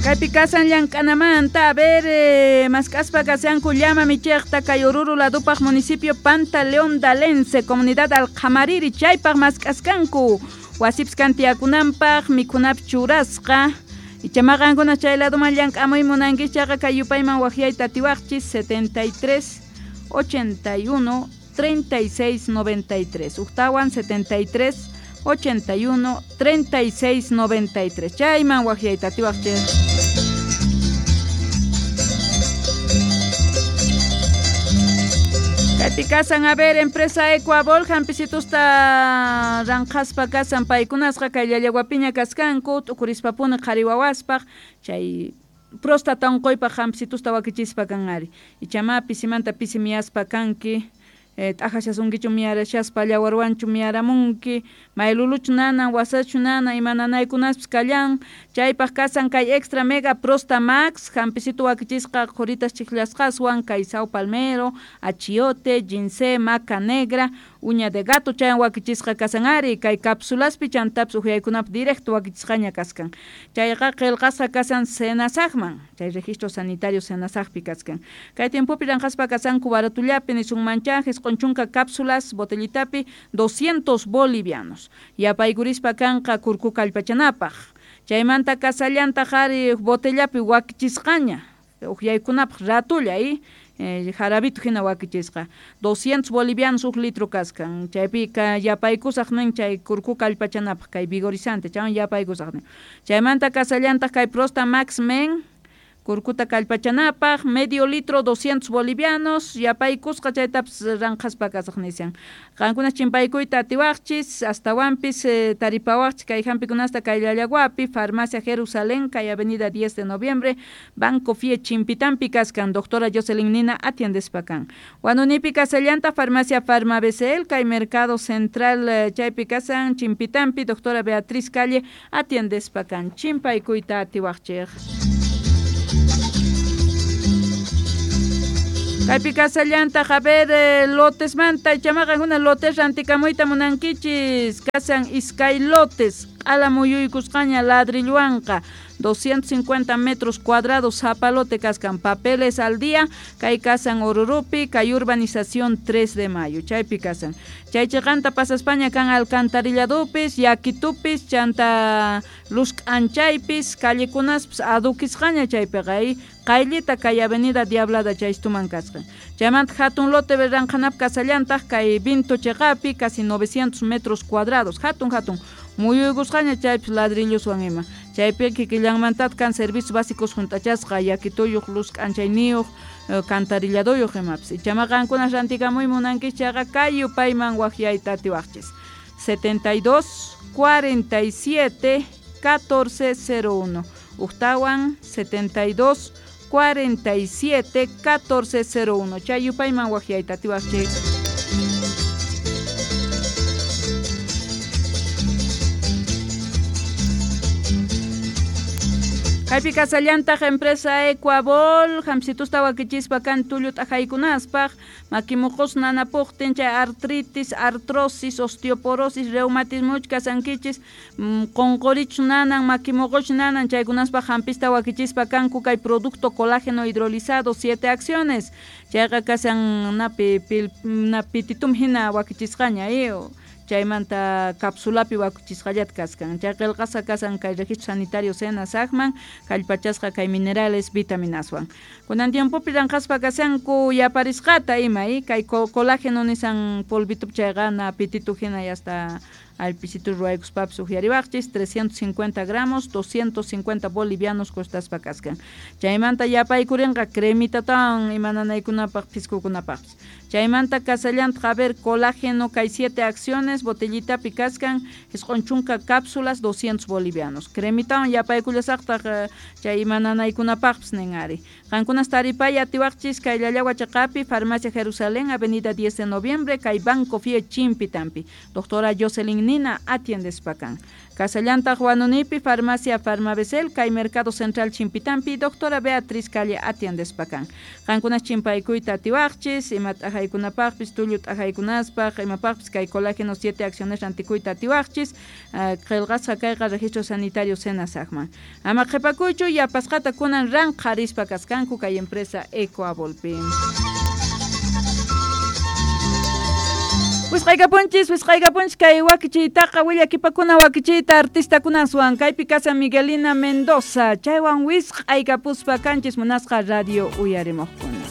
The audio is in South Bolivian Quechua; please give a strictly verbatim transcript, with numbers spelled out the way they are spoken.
Kaypi kasan llank'anamanta, a ver, eh, mask'aspa kasanku llama michiqta kay Oruro ladupaq municipio Pantaleón Dalense, comunidad Alqamariri, chaypaq mask'askanku wasipis kantiyakunanpaq mikhunapis churasqa. Ichama qankuna chay laduman llank'amuy munankichis chayqa kay yupayman waqyayta atiwaqchis setenta y tres, ochenta y uno, treinta y seis, noventa y tres. Ujtawan setenta y tres, ochenta y uno, treinta y seis, noventa y tres. Chayman waqyayta atiwaqchis. Kaypi kasan, a ver, empresa Ecuabol, hampisitusta ranqhaspa kasan paykunasqa kay llallawapiña kaskanku, t'ukurispapuni qhari wawaspaq, chay próstata unquypaq hampisitusta wakichispa kan ari. Ichama pisimanta pisi miyaspa kanki, eh, t'ajashasunkichu miyarashaspa llawarwanchu miyaramunki, mayluluchu nanan, wasachu nanan, ima nanaykunaspis kallan, chaypaq kasan kay Extra Mega Prosta Max, hampisitu wakichisqa qhuritas chiklasqaswan, kay sao palmero, achiote, ginseng, maca negra, uña de gato chayan wakichisqa kasan ari, kay cápsulaspi chantapis uhyaykunapi directo wakichisqaña kaskan. Chayqa qillqasqa kasan Senasajman, chay registro sanitario Senasajpi kaskan. Kay tiempopi ranqaspa kasanku baratullapi nisunmancha, jisq'un chunka cápsulas botellitapi doscientos bolivianos. Yapaykurispa kanqa kurku kallpachanapaq. Chaymanta kasallantaq ari botellapi wakichisqaña, uhyaykunapaq ratulla y eh, jarabito hina wakichisqa. doscientos bolivianos huk litro kaskan. Chaypi yapaykusaq nin chay kurku kallpachanapaq kay vigorizante, chaywan yapaykusaq nin. Chaymanta kasallantaq kay Prosta Max Men, kurkuta kallpachanapaq, medio litro doscientos bolivianos, yapaykusqa chaytapis ranqhaspa kasaq nishan. Qankuna chimpaykuyta atiwaqchis, astawanpis eh, taripawaqchis kay hampikunasta kay Llallawapi, Farmacia Jerusalén, kay Avenida diez de Noviembre, Banco F I E Chimpitampi kaskan, doctora Jocelyn Nina atiendespa kan. Wanunipi kasallanta Farmacia Farma B C L, kay Mercado Central eh, chaypi kasan, Chimpitampi, doctora Beatriz Calle atiendespa kan. Chimpaykuyta atiwaqchis. Kaypi kasallantaq, a ver, eh, lotesmanta, ichamaqa una lotes rantikamuyta munankichis, kasan iskay lotes, q'ala muyuykusqaña ladrilluwanqa, doscientos cincuenta metros cuadrados, zapalote kaskan, papeles al día, kay kasan Orurupi, kay urbanización tres de mayo, chaypi kasan. Chay chiqanta pasaspaña kan alcantarilladupis, yakitupis, chanta luz k'anchaypis, callekunaspis adukisqaña chaypiqa, y qayllita kay avenida Diablada chaystuman kasqa. Chaymanta hatun lote ranqhanap kasallantaq kay Vinto chiqapi, casi novecientos metros cuadrados, hatun hatun muyuykusqaña chaypis ladrilloswan ima. Chaypi kikillanmantataq kan servicios básicos junt'achasqa, yakituyuq, luz k'anchayniyuq, eh, cantarilladoyuq imapis. Ichama qankuna rantikamuy munankichis chayqa kay yupayman waqyayta atiwaqchis. setenta y dos, cuarenta y siete, catorce cero uno. Ujtawan setenta y dos, cuarenta y siete, catorce cero uno. Chay yupayman waqyayta atiwaqchis. Kaypi kasallantaq empresa Ecuabol, hamsitusta wakichispa kan tullu t'ajaykunaspaq, makimuqus nanapuqtin chay artritis, artrosis, osteoporosis, reumatismuch kasankichis, mm, qunqurichu nanan, makimuquch nanan, chaykunaspaq hampista wakichispa kanku kay producto colágeno hidrolizado, siete acciones, chayqa kasan napi pil, napititum hina wakichisqaña, eh, chaymanta cápsulapi wakichisqallata kaskan. Chay qillqasqa kasan kay registro sanitario Senasajman, kallpachasqa kay minerales vitaminaswan. Kunan tiempopi ranqhaspa kasanku yaparisqata ima, eh, kay co-, colágeno nisan polvitup chayqa na pititu hina y hasta alpisitu ruwaykuspapis uhyariwaqchis, trescientos cincuenta gramos, doscientos cincuenta bolivianos costaspa kaskan. Chaymanta yapaykurinqa cremitatawan ima nanaykunapaq piskukunapaqpis. Chaymanta kasallantaq, a ver, colágeno kay siete acciones, botellitapi kaskan, isq'un chunka cápsulas, doscientos bolivianos. Cremitawan yapaykullasaqtaq, eh, chay ima nanaykunapaqpis nin ari. Qankunas taripay atiwaqchis kay Llallawa chiqapi, Farmacia Jerusalén, Avenida diez de Noviembre, kay Banco F I E Chimpitampi. Doctora Jocelyn Nina atiendespakan. Casallantaq Huanunipi Farmacia Farmabesel kay Mercado Central Chimpitampi doctora Beatriz Calle atiendespakan. Qankunas chimpaykuyta atiwaqchis, ima t'ajaykunapaqpis, tullu t'ajaykunaspaq, imapaqpis kay colágeno siete acciones rantikuyta atiwaqchis, uh, qillqasqa kayqa registro sanitario Senasaqman. Ama qhipakuychu yapasqata kunan ranqharispa kaskanku kay empresa Ecoabolpi. Wisqaykapunchis, wisqaykapunchis kay wakichiytaqa willakipakuna wakichiyta artistakunaswan kaypi kasa Miguelina Mendoza chaywan wisq'aykapuspa kanchis munasqa radio uyarimuqkuna.